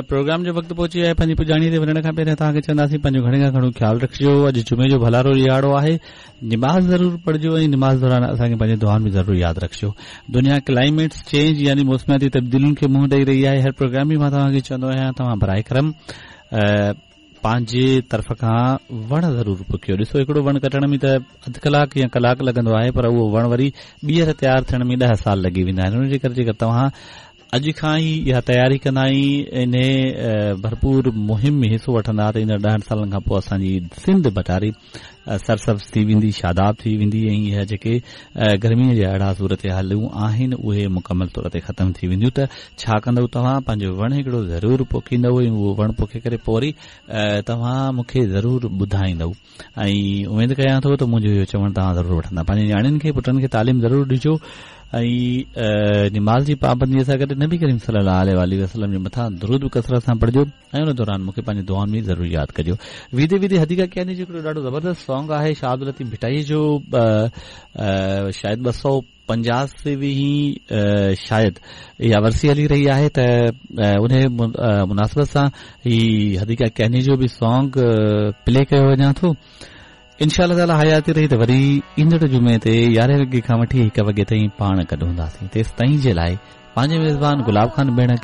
Programme جو وقت پهچي ويو آهي پنهنجي پڄاڻي تي وڃڻ کان پهريان توهان کي چونداسين پنهنجو گهڻي کان گهڻو خيال رکجو اڄ جمعي جو ڀلارو ڏهاڙو آهي نماز ضرور پڙهجو ۽ نماز دوران اسان کي پنهنجي دعائن ۾ ضرور ياد رکجو دنيا ڪلائميٽ چينج يعني موسمياتي تبديلين کي منهن ڏئي رهي آهي هر پروگرام ۾ مان توهان کي چوندو آهيان توهان برائي ڪرم پنهنجي طرف کان وڻ ضرور پوکيو ڏسو هڪڙو وڻ ڪٽڻ ۾ ته اڌ ڪلاڪ يا ڪلاڪ لڳندو آهي پر اهو وڻ وري ٻيهر تيار ٿيڻ ۾ 10 سال لڳي ويندا آهن ان جي ڪري جيڪر توهان اڄ کان ئي اها تياري ڪندا ۽ انهي ڀرپور مهم ۾ حصو وٺندا ته ايندڙ ڏهن سالن کان پوء اسان جي سنڌ ڀٽاري سرسبز ٿي ويندي، شاداب ٿي ويندي ۽ اها جيڪي گرمي جا اهڙا صورتحالون آهن اهي مڪمل طور تي ختم ٿي وينديون ته ڇا ڪندؤ توهان پنهنجو وڻ هڪڙو ضرور پوکيندؤ ۽ اهو وڻ پوکي ڪري پوء وري توهان مون کي ضرور ٻڌائيندؤ. ۽ اميد ڪيان ٿو ته منهنجو اهو چوڻ توهان ضرور وٺندا. پنهنجي نياڻين کي پٽن کي تعليم ضرور ڏجو ۽ نماز جي پابندي سان گڏ نبي ڪريم صلي الله عليه واٰله وسلم جي مٿان درود به ڪثرت سان پڙهجو ۽ ان دوران مون کي پنهنجي دعائن ۾ ضرور ياد ڪجو. ويندي ويندي حديقه ڪياني جو هڪڙو ڏاڍو زبردست سانگ آهي شاهه عبداللطيف ڀٽائي جو شايد 200 85 هين شايد اها ورسي هلي رهي آهي ته انهي مناسبت سان هي حديقه ڪياني جو به سانگ پلي ڪيو وڃان ٿو انشاء الله تعالي حياتي رهي ته وري ايندڙ جمعي تي 11 وڳي کان وٺي 1 وڳي تائين پاڻ گڏ هونداسين تيستائين جي لاء پنهنجي ميزبان گلاب خان ڀيڻ کي